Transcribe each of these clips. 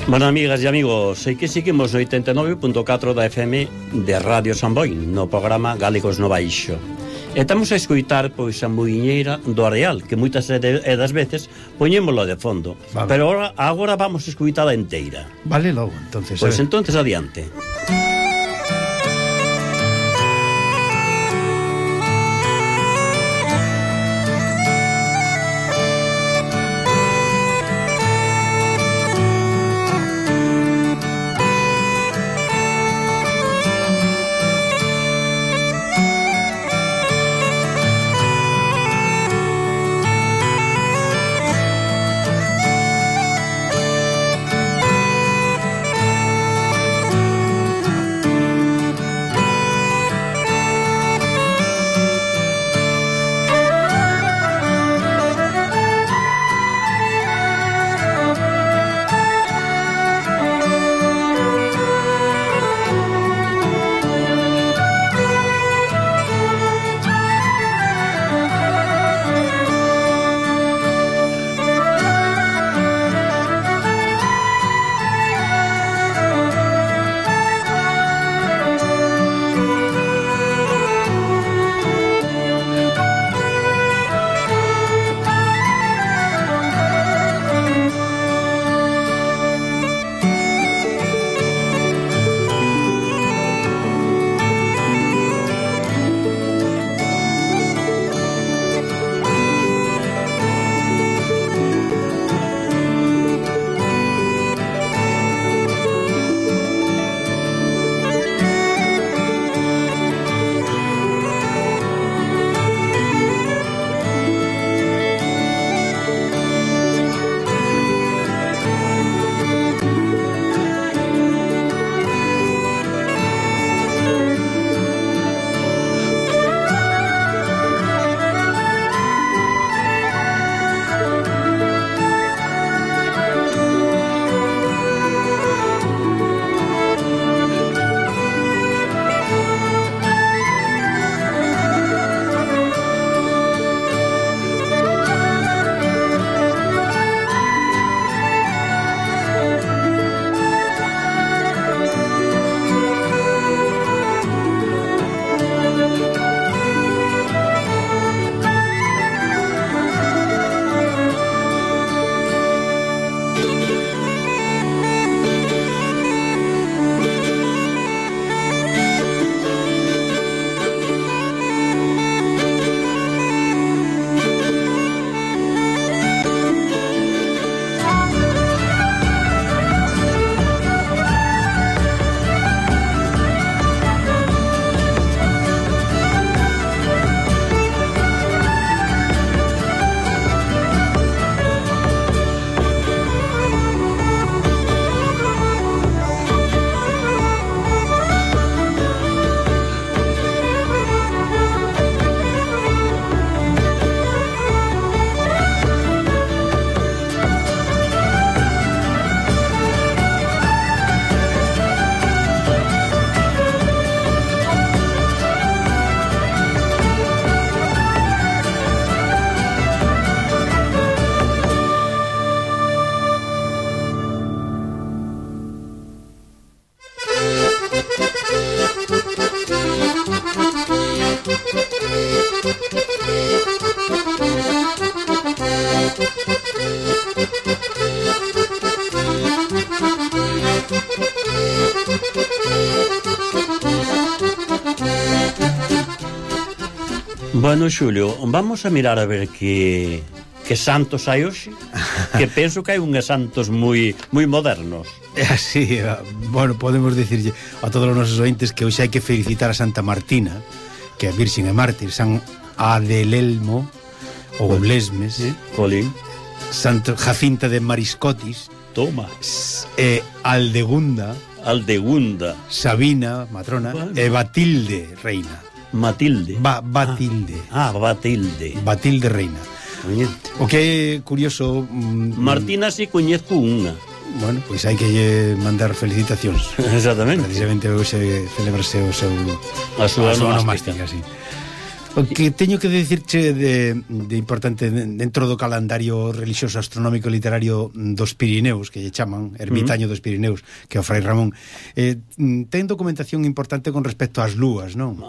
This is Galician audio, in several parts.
Bueno, amigas e amigos, sei que seguimos no 89.4 da FM de Radio Samboy, no programa Galegos no Baixo. E estamos a escoitar, pois, a muiñeira do Areal, que moitas das veces poñémolo de fondo. Vale. Pero agora vamos a escoitala inteira. Vale, logo, entonces. Pois entonces adiante. Bueno, Xulio, vamos a mirar a ver que santos hai hoxe, que penso que hai unhas santos moi modernos. É así, bueno, podemos dicirlle a todos os nosos ointes que hoxe hai que felicitar a Santa Martina, que é Virxen e Mártir, San Adelelmo ou Lesmes, Colín, Santo Jacinta de Mariscotis, toma, Aldegunda, Sabina, matrona, bueno, e Batilde, reina. Matilde. Batilde. Batilde reina. Oye. O que é curioso... Martina si coñezco unha. Bueno, pois hai que mandar felicitacións. Exactamente. Precisamente hoxe celebrase o seu... A súa onomástica, sí. O que teño que dicirche de importante dentro do calendario religioso astronómico literario dos Pirineus, que lle chaman Ermitaño dos Pirineus, que é o Fray Ramón, ten documentación importante con respecto ás lúas, non?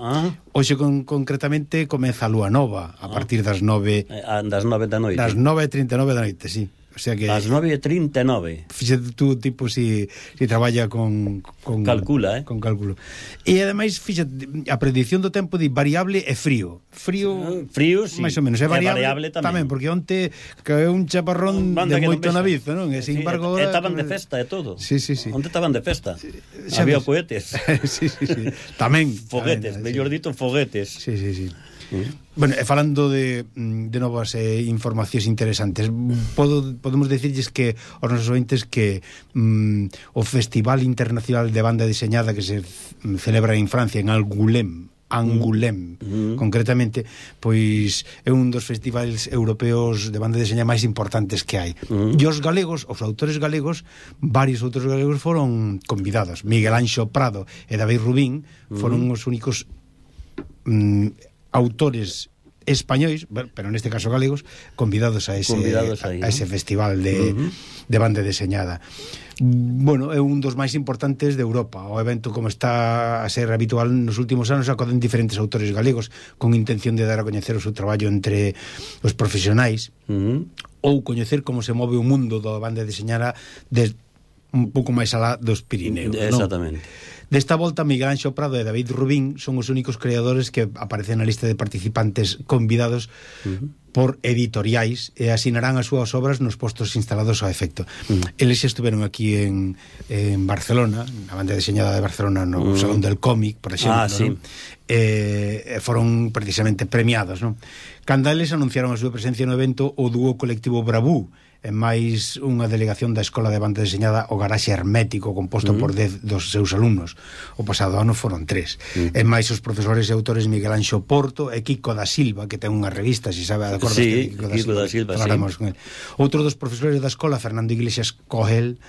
Hoxe concretamente comeza a lúa nova a partir das 9 das 9 da noite. Das 9:39 da noite, sí. O sea que as 9:39. Fíxate tú, tipo, si traballa con calcula, con cálculo. E ademais, fíxate, a predicción do tempo di variable e frío, sí, máis ou menos, é variable tamén, porque onte caeu un chaparrón de moito navizo, non? E sin embargo agora estaban de festa e todo. Sí. Onte estaban de festa. Había cohetes. Sí. Tamén foguetes, mellor dito, foguetes. Sí. Bueno, e falando de novas informacións interesantes, podemos decirles que aos nosos ointes que o Festival Internacional de Banda Deseñada que se celebra en Francia, en Angoulême, concretamente, pois é un dos festivais europeos de banda deseñada máis importantes que hai. E os galegos, os autores galegos, varios outros galegos foron convidados. Miguel Anxo Prado e David Rubín foron os únicos autores españois, pero neste caso galegos, convidados a ese festival de banda deseñada. Bueno, é un dos máis importantes de Europa. O evento, como está a ser habitual nos últimos anos, acoden diferentes autores galegos con intención de dar a coñecer o seu traballo entre os profesionais ou coñecer como se move o mundo da banda deseñada un pouco máis alá dos Pirineos. Exactamente. Desta volta, Miguel Anxo Prado e David Rubín son os únicos creadores que aparecen na lista de participantes convidados por editoriais e asinarán as súas obras nos postos instalados ao efecto. Eles xa estiveron aquí en Barcelona, na banda deseñada de Barcelona, no Salón del Cómic, por exemplo, sí. Foron precisamente premiados, non? Cando eles anunciaron a súa presencia no evento, o dúo colectivo Bravú, e máis unha delegación da Escola de Banda Deseñada o Garaxe Hermético, composto por 10 dos seus alumnos. O pasado ano foron 3. E máis os profesores e autores Miguel Anxo Porto e Kiko da Silva, que ten unha revista, se sabe, acordas de Kiko da Silva, falaremos con el. Outro dos profesores da escola, Fernando Iglesias Cogel,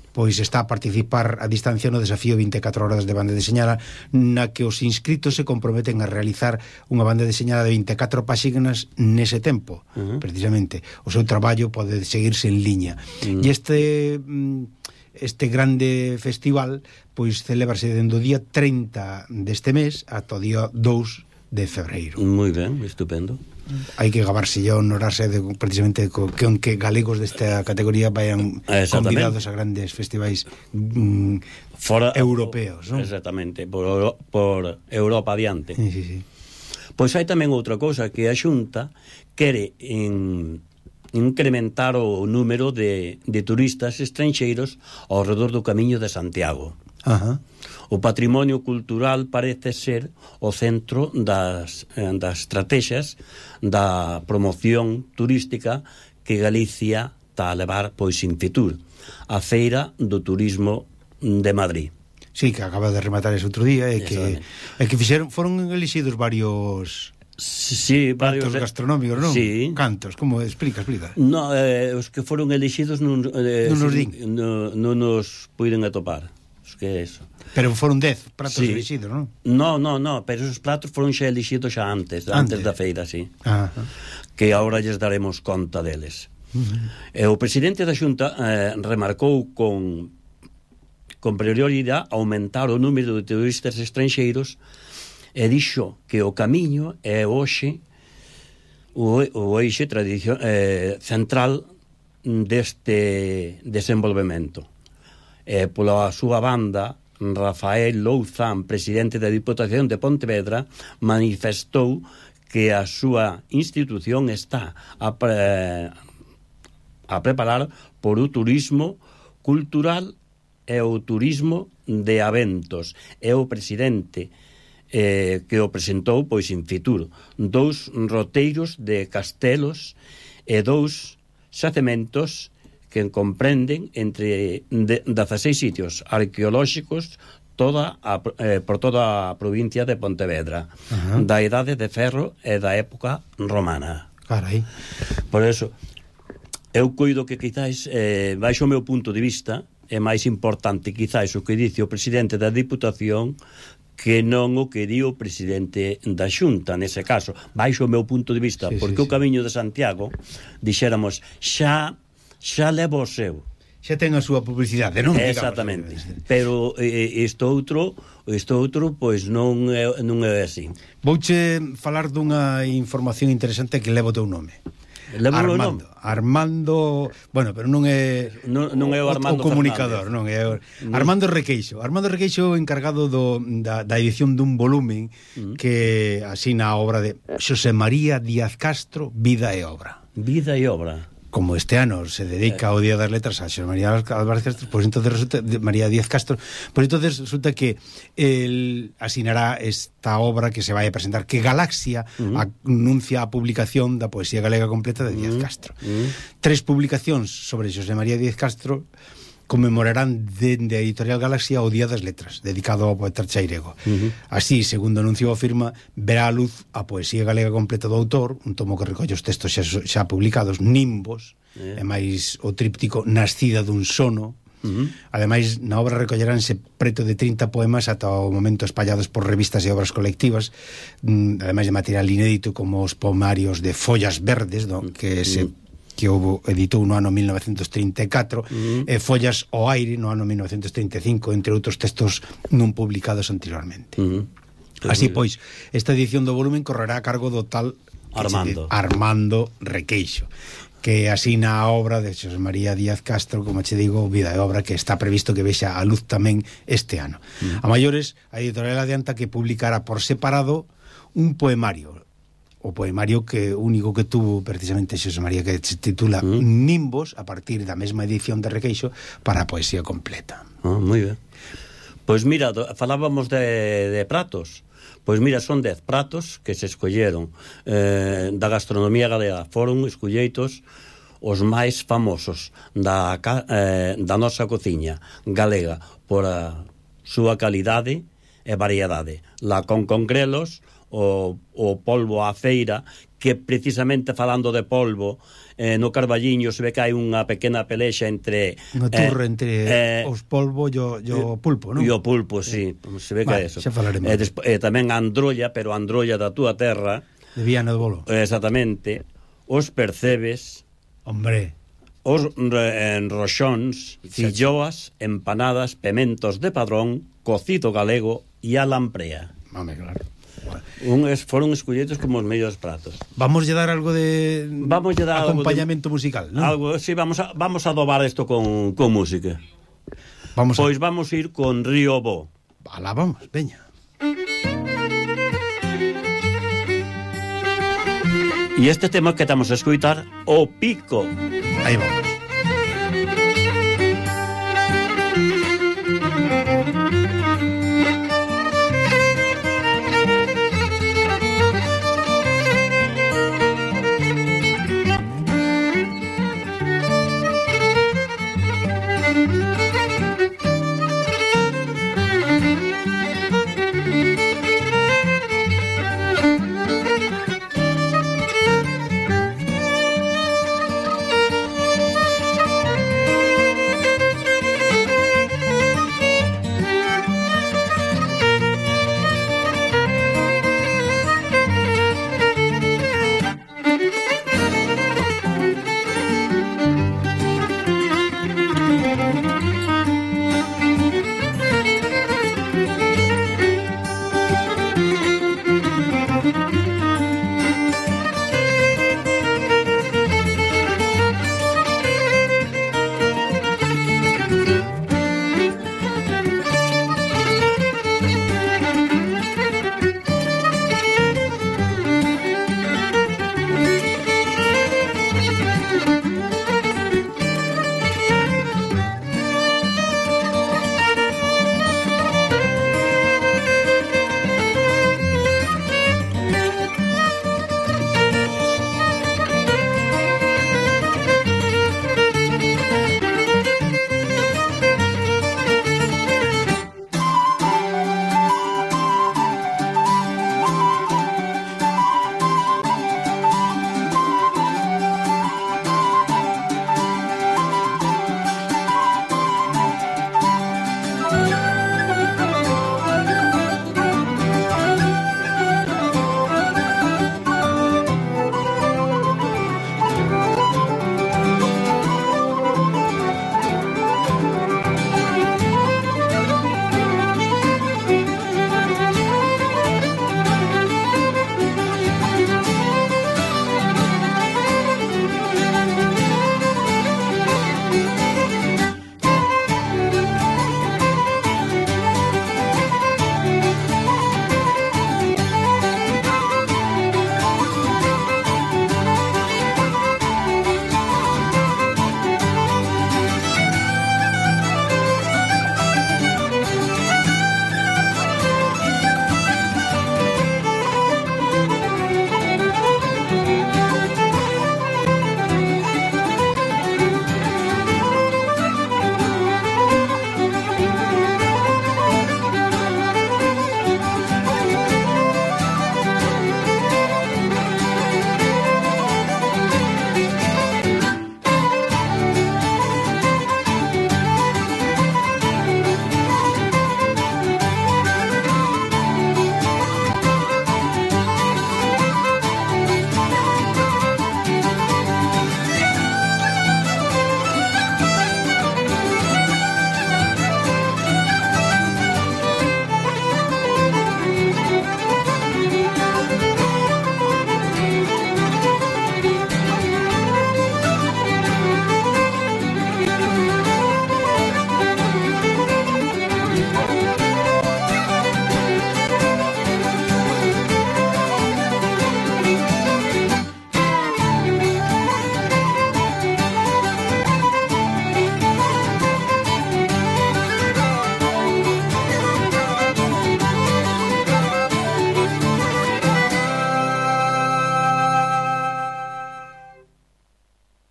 pois está a participar a distancia no desafío 24 horas de banda deseñada, na que os inscritos se comprometen a realizar unha banda deseñada de 24 páxinas nese tempo, precisamente. O seu traballo pode seguirse en liña. E este grande festival pois celebrase dende o día 30 deste mes ata o día 2 de febreiro. Moi ben, estupendo. Hai que gabarse e honorarse precisamente que galegos desta categoría vayan convidados a grandes festivais europeos, non? Exactamente, por Europa adiante. Sí. Pois hai tamén outra cousa, que a Xunta quere incrementar o número de turistas estranxeiros ao redor do Camiño de Santiago. O patrimonio cultural parece ser o centro das estrategias da promoción turística que Galicia está a levar pois in fitur, a Feira do Turismo de Madrid. Sí, que acaba de rematar ese outro día e que foron elixidos varios pratos gastronómicos, non? Sí. Cantos, como explica? No, os que foron elixidos non nos puiden atopar. Que é eso. Pero foron 10 pratos elixidos, non? No, pero esos pratos foron xa elixidos xa antes da feira, sí. Que agora lles daremos conta deles. E o presidente da Xunta remarcou con prioridade aumentar o número de turistas estranxeiros e dixo que o camiño é hoxe o eixe central deste desenvolvemento. Pola súa banda, Rafael Louzán, presidente da Diputación de Pontevedra, manifestou que a súa institución está a preparar por o turismo cultural e o turismo de eventos. É o presidente que o presentou pois in fitur 2 roteiros de castelos e 2 xacementos que comprenden entre 16 sitios arqueolóxicos por toda a provincia de Pontevedra, da Idade de Ferro e da época romana. Carai. Por eso, eu coido que quizás, baixo o meu punto de vista, é máis importante quizás o que dice o presidente da Diputación que non o que di o presidente da Xunta, nese caso, baixo o meu punto de vista, porque o Camiño de Santiago, dixéramos, xa leva o seu. Xa ten a súa publicidade, non? Exactamente. Pero isto outro, pois non é así. Vouche falar dunha información interesante que leva o teu nome. Armando, bueno, pero non é o Armando o comunicador, non é Armando Requeixo. Armando Requeixo encargado da edición dun volumen que asina a obra de Xosé María Díaz Castro, Vida e Obra. Vida e Obra. Como este ano se dedica ao Día das Letras a Xosé María Álvarez Castro, pois entonces resulta María Díaz Castro, pois entonces resulta que el asinará esta obra que se vai a presentar, que Galaxia anuncia a publicación da poesía galega completa de Díaz Castro. 3 publicacións sobre Xosé María Díaz Castro conmemorarán dende a editorial Galaxia o Día das Letras, dedicado ao poeta chairego. Así, segundo anuncio afirma, verá a luz a poesía galega completa do autor, un tomo que recolle os textos xa publicados, Nimbos, e máis o tríptico Nascida dun sono. Ademais, na obra recolleránse preto de 30 poemas ata o momento espallados por revistas e obras colectivas, ademais de material inédito como os poemarios de Follas Verdes, que houve editou no ano 1934 e Follas ao aire no ano 1935, entre outros textos non publicados anteriormente. Así pois, esta edición do volumen correrá a cargo do tal Armando Requeixo, que asina a obra de Xosé María Díaz Castro, como che digo, Vida e Obra, que está previsto que vexa a luz tamén este ano. A maiores, a editorial adianta que publicará por separado un poemario, o poemario que único que tuvo precisamente Xosé María, que se titula Nimbos, a partir da mesma edición de Requeixo, para a poesía completa. Moi ben. Pois mira, falábamos de pratos. Pois mira, son 10 pratos que se escolleron da gastronomía galega. Foron escolleitos os máis famosos da nosa cociña galega por a súa calidade e variedade. La con grelos, o polvo á feira, que precisamente falando de polvo, no Carballiño se ve que hai unha pequena pelexa entre unha turra entre os polvo e o pulpo, non? E o pulpo, sí, se ve que é eso. Xa falaremos. Tamén a androlla, pero a androlla da túa terra, de Viana do Bolo. Exactamente. Os percebes, hombre, os roxóns, filloas, empanadas, pementos de Padrón, cocido galego e a lamprea. Home, claro. Foron escollidos como os mellores pratos. Vamos a dar algo de acompañamento musical, ¿no? Algo, sí, vamos a adobar isto con música. Vamos a ir con Río Bo. Alá vamos, veña. E este tema que estamos a escoitar, O Pico. Aí vamos.